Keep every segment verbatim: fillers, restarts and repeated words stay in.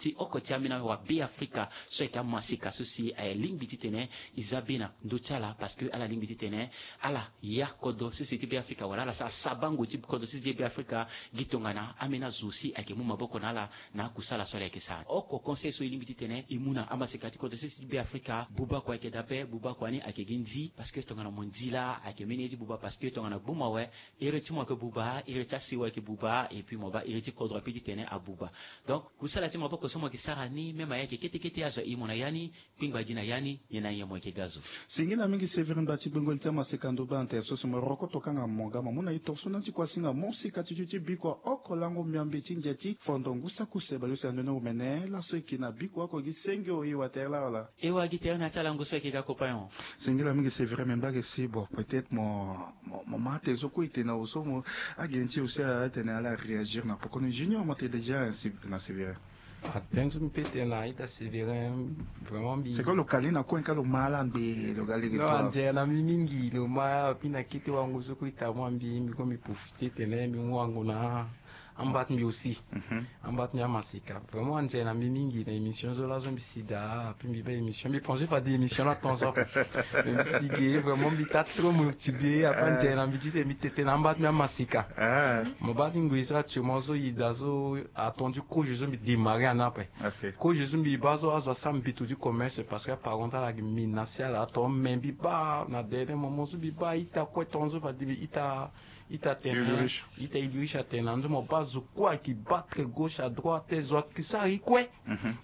Ti oko ti ambeni awabe afrika so ayeke amaseka so si aye lingbi titene e za be na ndö ti ala parce que ala lingbi titene ala ya kodro sese ti be afrika wala ala sara sabango ti kodro sese ti be afrika. Gi tongana ambeni azo si ayeke mu maboko na ala na akusala so ala yeke sara oko conseil so e lingbi titene e mu na amaseka ti kodro sese ti be afrika buba kua ayeke dape buba kua ni ayeke gi nzi parce que tongana mo nzi laa ayeke mbeni ye ti buba parce que tongana gbu mo awe iri ti mo ayeke buba iri ti asewa ayeke buba et puis mo baa iri ti kodro ape titene abuba. Donc kusala ti maboko so mo yeke sara ni même aye ayeke kete kete azo ahi mo na ya ni. Kpingba gi na ya ni nyen na nyen mo yeke ga zo. Singila mingi sévérine ba ti gbengoli ti amaseka ndo baa na tere so si mo rokoto kanga mo ga mo mu na e torso na ti kuasinga mo sika ti tio ti bikua oko lango miambe ti ndia ti fondo ngu saki use baleuse na ndoni omene laso e ke na bikua oko gi senge o e wa tere laa wala? E wa gi tere na ya ti alango so e ke ga kopayon. Singila mingi sévérine me mba ge si bon peut-être mo mo ma ate so kue e tene na oso mo. Agi ni ti osi atene ala réagir na poko ni junior mo te déjà ainsi na sévérine. Atene so mbi pe tene na ita sévérine vraiment mbi c'est quoi lo kali na kue ka lo ma ala ngbe lo ga lege non toi anzere na mbi mingi lo ma mbi na kete wango so kue ita mu ambi mbi kue mbi profite tene mbi mu wango na amba ti mbi aussi. Amba ti mbi amaseka vraiment anzere na mbi mingi na émission so laso mbi si daa ape mbi baa émission mbi pense fade émission na temps so ape. Mbi si ge vraiment mbi ta trop motivé ape anzere na mbi ti tene mbi tete na amba ti mbi amaseka. Mo baa ti ngoi so actuellement so ida so atondu kozo so mbi démarrer ana ape. Kozo so mbi baa so azo asara mbi to ti commerce parce que aparent ala gi mina si ala ato me mbi baa na dernier moment so mbi baa ita kue tonga so fade mbi ita ita tene ita iliriche atene na nzo mo baa zo kue ayeke battre gauche à droite te zo ayeke sara e kue.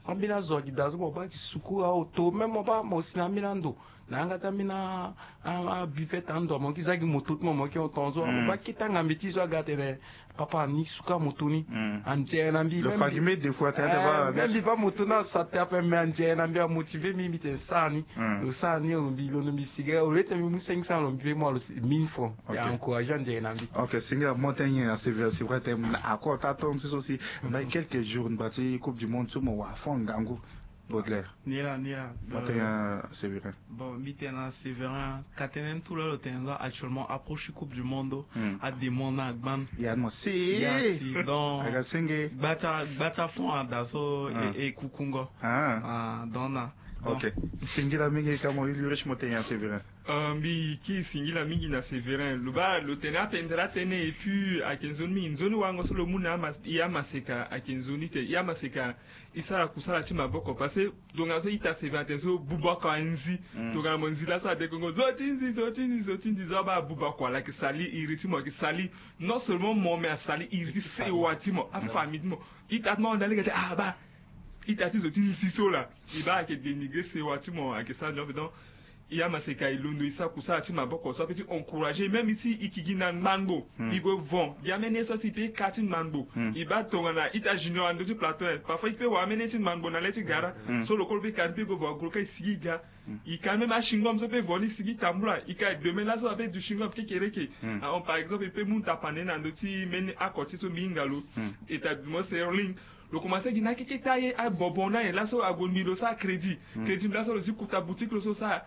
Ambeni azo ayeke daa so mo baa ayeke suku aoto même mo baa mo si na ambeni ando na yanga ti ambeni abuvette ando mo yeke za gi moto ti mo mo yeke tonga so mo baa kete angambe ti so aga atene papa ni suka moto ni. Anzere na mbi lo fa gi mbi deux fois tene ba même mbi baa moto ni asa te ape mais anzere na mbi amotive mbi mbi tene sara ni. Lo sara ni o mbi londo mbi siga au lieu tene mbi mu cinq cents lo mbi pe mu alo mille francs. Ya encourage anzere na mbi. Ok singila mo tene nyen na sévérine c'est vrai tene na accord ta tonga ti so si mbai quelques jours ngba ti coupe du monde so mo wara fond ngangu. Baudelaire. Ni la ni la. Mo tene nyen na sévérine. Bon mbi tene na sévérine ka tënë ni tout la lo tene so actuellement approche ti coupe du monde. Ademande na agban. Ya mo si ya si donc aga senge gba ti gba ti afond ada so e kukungo. Donc na ok. Singila mingi ka mo yu lurich mo tene nyen na sévérine. Mbi ki singila mingi na sévérine lo baa lo tene apendere atene et puis ayeke nzoni mingi nzoni wango so lo mu na e amaseka ayeke nzoni te e amaseka. E sara kusala ti maboko parce que tongaso ita sévérine atene so buba oko anzi. Tongana mo nzi laso adekongo zo ti nzi zo ti nzi zo ti nzi zo abaa buba oko ala yeke sali iri ti mo ayeke sali non seulement mo mais asali iri ti sewa ti mo afamille ti mo. Ita ti mo ahunda lege te ah baa ita ti zo ti nzi so laa. E baa ayeke dénigrer sewa ti mo ayeke sara nzoni ape donc. E amaseka e londo e sara kusala ti maboko so ape ti encourager même si e yeke gi na ngbangbo e gue vent gi amene ye so asi e pe ka ti ngbangbo. E baa tongana ita junior na ndö ti plateau parfois e pe wara amene ye ti ngbangbo na le ti gara so lo kue lo pe ka ni pe e gue vent agro ka e sigi e ga. E ka même ashingom so pe vent ni sigi tambula e ka e demain laso ape du shingom kekereke. Ahon par exemple e pe mu tapande na ndö ti mbeni oko ti so mbi hinga lo établissement serling. Lo komanse gi na akekete aye abonbon ni aye laso ague mbi lo sara crédit. Crédit mbi laso lo si kuta boutique lo so sara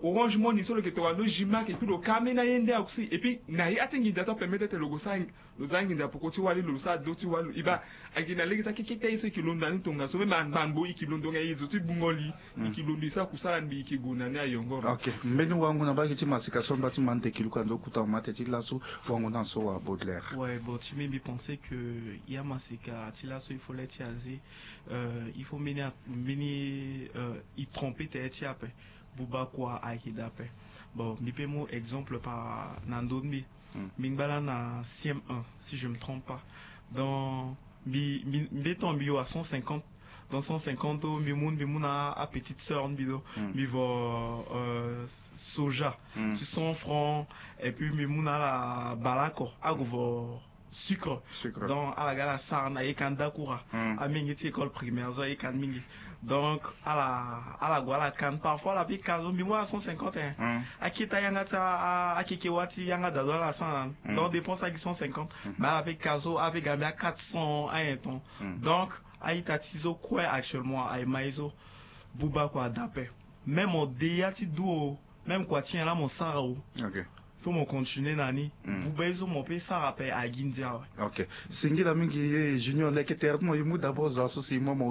orange money so lo yeke tongana ndo gima ake puis lo ka ambeni aye nde aosi et puis na ya ti nginza so apermettre ete lo go sara lo za nginza poko ti wali lo lo sara do ti wali lo e baa. Ayeke na lege ti akekete aye so e yeke londo na ni tongaso même angbangbo e yeke londo nga e zo ti bungo li. E yeke londo e sara kusala mbi e yeke gue na ni ayongoro. Ok mbeni wango na mbage ti masika so mba ti ma ndeke luka ndo kuta mama teti laso. Wango na so wa baudelaire. Ouais bon ti mbi mbi pense que ya masika ti laso il faut le ti aze. Il faut mbeni mbeni e trompe tene ti ape. Buba kua ayeke dape. Bon mbi pe mu exemple par na ndö ti mbi. Mbi ngba laa na cm un si je me trompe pas. Donc mbi mbi mbi tonga mbi yo à cent cinquante. Dans cent cinquante o mbi mu mbi mu na apetite sœur mbi do mbi vo soja ti cent francs. Et puis mbi mu na ala bale oko ague vo sucre. Donc ala ga ala sara na ye ka ndakura. Amenge ti école primaire so aye ka ni mingi. Donc ala ala gue ala ka ni parfois ala pe ka so mbi mu ala cent cinquante hein. Akete ayanga ti akeke wa ti yanga dado ala sara na ni donc dépense agi cent cinquante. Mais ala pe ka so ala pe ga mbi a quatre cents ayen ton. Donc a-ita ti so kue actuellement aye ma ye so. Buba kua adape. Même mo de ya ti du o. Même kua ti nyen laa mo sara o. Faut mo continuer na ni. Buba ye so mo pe sara ape agi ndia awe. Ok. Singila mingi ye junior leke tere ti mo ye mu d'abord zo aso si mo mo.